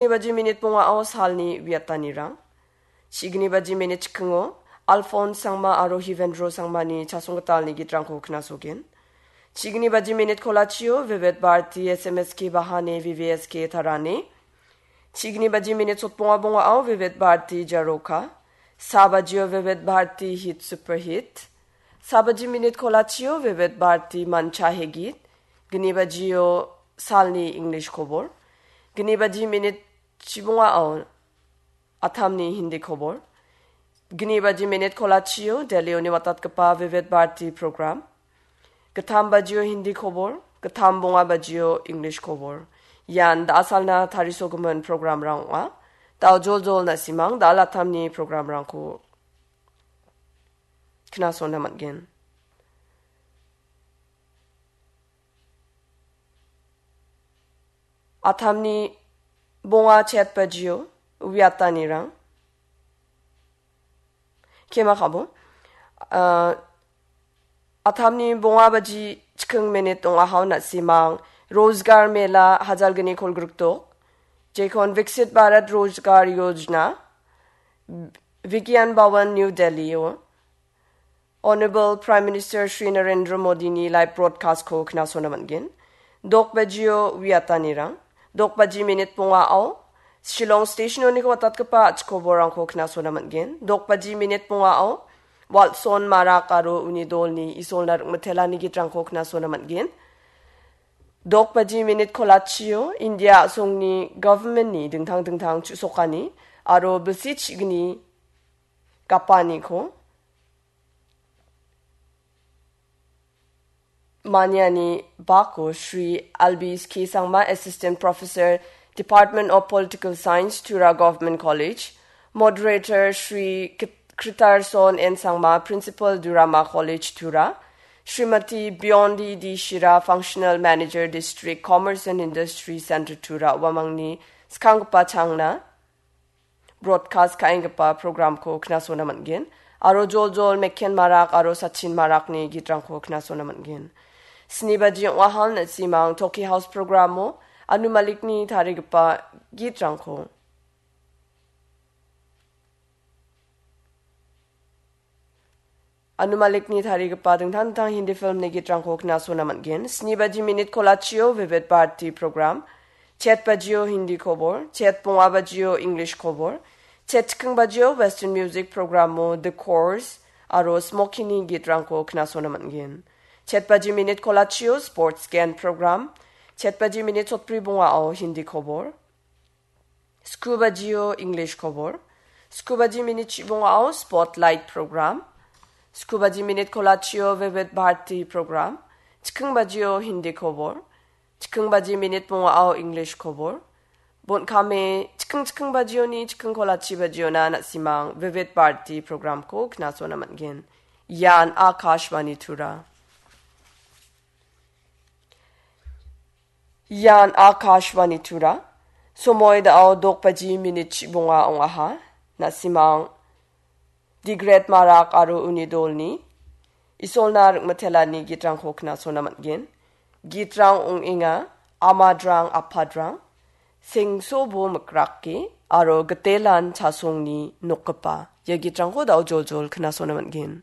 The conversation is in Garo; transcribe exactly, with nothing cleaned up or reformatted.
Baji minit bongao salni uiatanirang. Chigni baji minit chikingo Alphonse Sangma aro Hivendro Sangmani chasonggitalni gitrangko knasogen. Chigni baji minit kolachio Vivid Bharati S M S K Bahane V V S K Tarane. Chigni baji minit sotbonga bongao Vivid Bharati Jaroka. Sa bajio Vivid Bharati Hit Super Hit. Sa baji minit kolachio Vivid Bharati Mancha Hegit. Gni bajio salni English kobor. Gni baji minit chibongao Athamni Hindi kobor. Gni baji minit kolachio Delhi-oni watatgipa Vivid Bharati program. Gittam bajio Hindi kobor, gittam bonga bajio English kobor. Ian da·asalna tarisogimin programrang ong·a. Da·o joljol na·simang da·al attamni programrangko knasona man·gen. Attamni bonga chet bajio uiatanirang. Kema kabo. Ah, Attamni bonga baji chiking minit ong·aha na·simang. Rozgar Mela hajalgni kolgrikdok. Jekon Viksit Bharat Rozgar Yojana. Vigyan Bhawan New Delhi-o. Honorable Prime Minister Shri Narendra Modi-ni live broadcast-ko knasona man·gen. Dok bajio uiatanirang. Dok baji minit bongao Shillong station-oniko watatgipa a·chik koborrangko knasona man·gen. Dok baji minit bongao Watson Marak aro uni dolni Isolna Rikmitelani gitrangko knasona man·gen. Dok baji minit kolachio India a·songni government-ni dingtang dingtang chu·sokani aro bilsi chigni gapaniko maniani bako Shri Albis K Sangma, Assistant Professor, Department of Political Science, Tura Government College, Moderator Shri Kit-, Kritarson N Sangma, Principal, Durama College, Tura, Srimati Biondi D Shira, Functional Manager, District Commerce and Industry Center, Tura, uamangni skanggipa changna broadcast ka·enggipa programko knasona man·gen. Aro joljol Mekhen Marak aro Sachin Marakni gitrangko knasona man·gen. Sni baji ong·ahal na·simang Toki House programo Anu Malikni tarigipa gitrangko Anu Malikni tarigipa dingtang dingtang Hindi filmni gitrangko knasona man·gen. Sni baji minit kolachio Vivid Bharati program. Chet bajio Hindi kobor. Chet bonga bajio English kobor. Chet chiking bajio Western music programo The Course aro Smokey-ni gitrangko knasona man·gen. Chet baji minit kolachio sports gen program. Chet baji minit sotbri bongao Hindi kobor. Sku bajio English kobor. Sku baji minit chibongao Spotlight program. Sku baji minit kolachio Vivid Bharati program. Chiking bajio Hindi kobor. Chiking baji minit bongao English kobor. Bon kame chiking chiking bajioni chiking kolachi bajiona na·simang Vivid Bharati programko knasona man·gen. Ian Akashvani Tura. Ian Akashvani Tura. Somoi da·o dok baji minit chibonga ong·aha. Na·simang Digret Marak aro uni dolni Isolna Rikmitelani gitrangko knasona man·gen. Gitrang ong·enga Amadrang Apadrang, Sengsobo Mikrake aro Gitelan Chasongni Nokgipa. Ia gitrangko da·o joljol knasona man·gen.